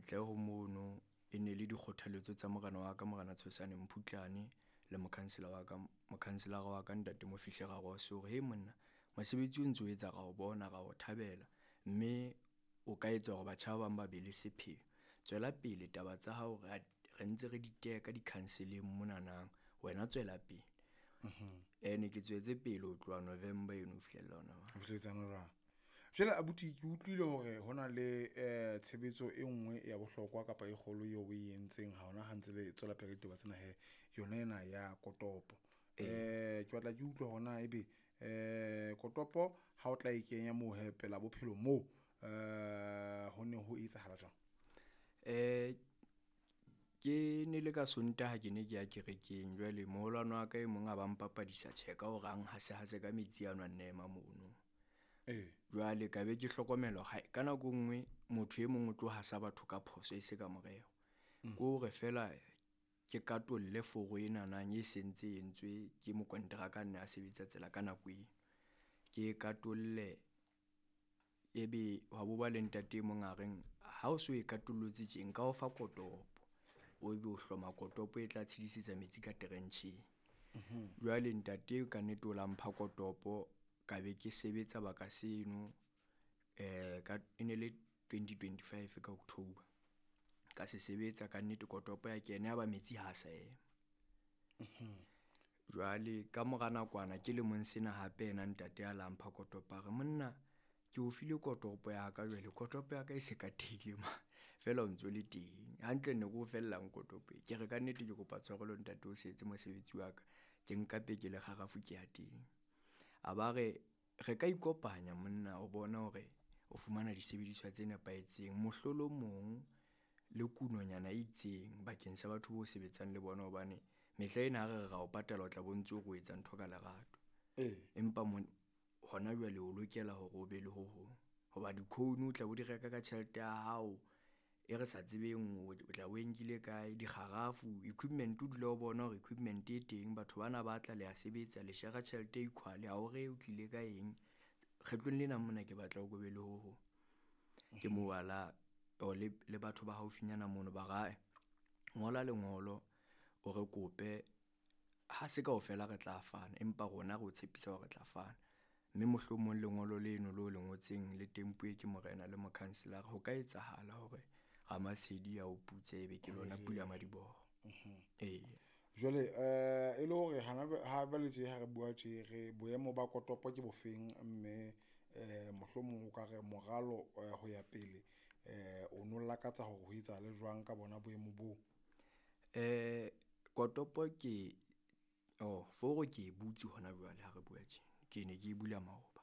Ntle ho mono e ne le dikgothaletso tsa morena wa ka, Morena Tshosane Mphutlane, le mokhanselara wa ka, mokhanselara wa ka Ntate Mofihle Rarose hore he monna, mosebetsi o ntso o etsa ra o bona, ra o thabela, mme o ka etsa hore batjha ba bang ba be le sepheo. Tswela pele taba tsa hao re ntse re di teka di-council-eng monanang, wena tswela pele. Ene ke tswetse pele ho tloha November eno ho fihlella hona jwale. Ho fihletsana jwang? Jwale abuti ke utlwile hore hona le tshebetso e nngwe ya bohlokwa kapa e kgolo eo o e entseng ha hona ha ntse le tswela pele ka ditaba tsena he, yona ena ya kotopo. Ke batla ke utlwe hore na ebe kotopo ha o tla e kenya moo he pela bophelo moo, ho ne ho etsahala jwang? Ke ne le ka Sontaha ke ne ke ya kerekeng, jwale moholwane wa ka e mong a ba mpapadisa tjhe ka hore a nhase hase ka metsi ano a nna ema mono. Jwale ka be ke hlokomela hore ka nako e nngwe motho e mong o tlo hasa batho ka phoso e se ka morero. Ke hore feela ke katolle foro enanang e sentse e entswe ke mokonteraka a nne a sebetsa tsela ka nako eo. Ke e katolle, ebe hwa bo ba le ntate e mong a reng ha o so e katollotse tje nka o fa kotopo, o ebe o hloma kotopo e tla tshedisetsa metsi ka trencheng. Jwale ntate ka nnete o la mpha kotopo, ka be ke sebetsa baka seno ka e ne le 2025 ka October. Ka se sebetsa ka nnete kotopo ya kena, ya ba metsi ha sa ema. Jwale ka mora nakwana ke lemong sena hape yena ntate a la mpha kotopo a re monna ke o file kotopo ya ka jwale kotopo ya ka e se katehile ma, feela o ntso le teng. Hantle ne ke o fellang kotopo e, ke re ka nnete ke kopa tshwarelo ntate o se etse mosebetsi wa ka, ke nka peke le kgarafu ke ya teng. A ba re re ka ikopanya monna o bona hore o fumana disebediswa tse nepahetseng, mohlolomong le kunonyana e itseng bakeng sa batho bo sebetsang le bona, hobane mehla ena ha re re ra o patala, o tla bo ntso re o etsa ntho ka lerato. Empa hona jwale o lokela hore o be le ho hong, hoba di-cone o tla bo di reka ka tjhelete ya hao e re sa tsebeng o tla bo e nkile kae, dikgarafu, equipment o dula o bona hore equipment e teng, batho bana ba tla le a sebetsa, le shera tjhelete equal, ha o re o tlile ka eng. Kgetlong lena mona ke batla o ko be le ho hong. Ke moo a la o le batho ba haufinyana mono ba ra ngola lengolo o re kope, ha se kaofela re tla fana, empa rona re o tshepisa hore re tla fana. Mme mohlomong lengolo leno leo le ngotseng le tempuwe ke morena le mokhanselara, ho ka etsahala hore Ramasedi a o putse, ebe ke lona pula madiboho. Ee. Jwale e le hore hana ha jwale tje ha re bua tje re boemo ba kotopo ke bofeng, mme mohlomong o ka re moralo ho ya pele o no lakatsa hore ho etsahale jwang ka bona boemo boo? Kotopo ke oh foro ke e butse hona jwale ha re bua tje, ke ne ke e bula maoba.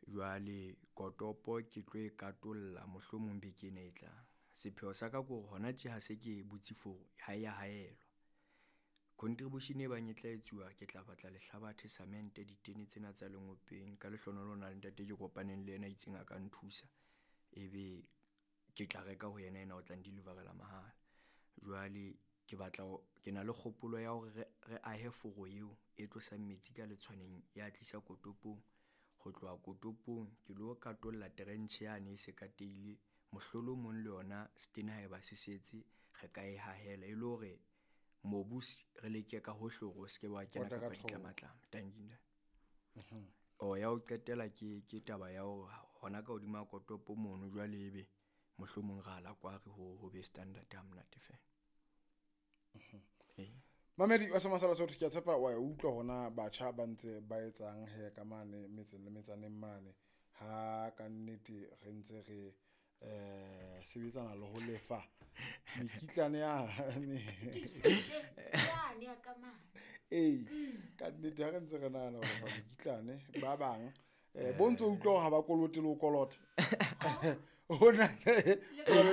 Jwale kotopo ke tlo e katolla mohlomong beke ena e tlang. Sepheo sa ka ke hore hona tje ha se ke butse foro ha ya haelwa. Contribution e bang e tla etsuwa, ke tla batla lehlabathe, cement, ditene tsena tsa lengopeng. Ka lehlohonolo ho na le ntate ke kopaneng le yena a itseng a ka nthusa, ebe ke tla reka ho yena, yena o tla n-deliver-ela mahala. Jwale ke batla ke na le kgopolo ya hore re ahe foro eo e tlosang metsi ka letshwaneng ya tlisa kotopong. Ho tloha kotopong ke lo katolla trench yane e se kateile, mohlolomong le yona setene haeba se setse re ka e hahela, e le hore mobu re leke ka hohle hore o se ke wa kena Pota ka kapa thoko. ditlamatlama. Tanki ntate. O ya ho qetela ke taba ya hore hona ka hodima kotopo mono jwale ebe mohlomong ra la kware ho be standard ha monate fela. Ee. Mamedi wa Semasala Sotho, ke a tshepa wa e utlwa hona batjha ba ntse ba etsang he ka mane metseng le metsaneng mane, ha ka nnete re ntse re sebetsana le ho lefa mekitlane ya Yane ya ka mane. Ee, ka nnete ha re ntse re nahana ho lefa mekitlane ba bang bo ntso utlwa hore ha ba kolote le ho kolota. Ho na le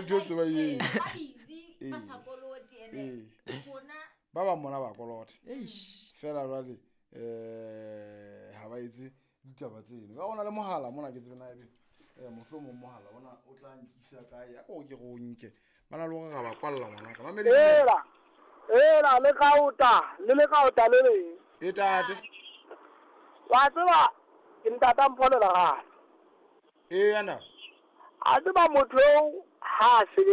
ntho tse ba e Ba busy, ba sa kolote, ene rona Ba bang mona ba kolota. Eish. Feela jwale ha ba etse ditaba tseno. Ka hona le mohala mona ke tsebe na ebe mohlomong mohala ona o tla nkisa kae, a ko ke re o nke. Ba na le hore ra ba kwalla ngwanaka. Mamedi. Ela. Ela le kaota, le kaota le leng. E tate. Wa tseba ke ntata Mpho le Lerato. E yana. A tseba motho eo ha a sebetsa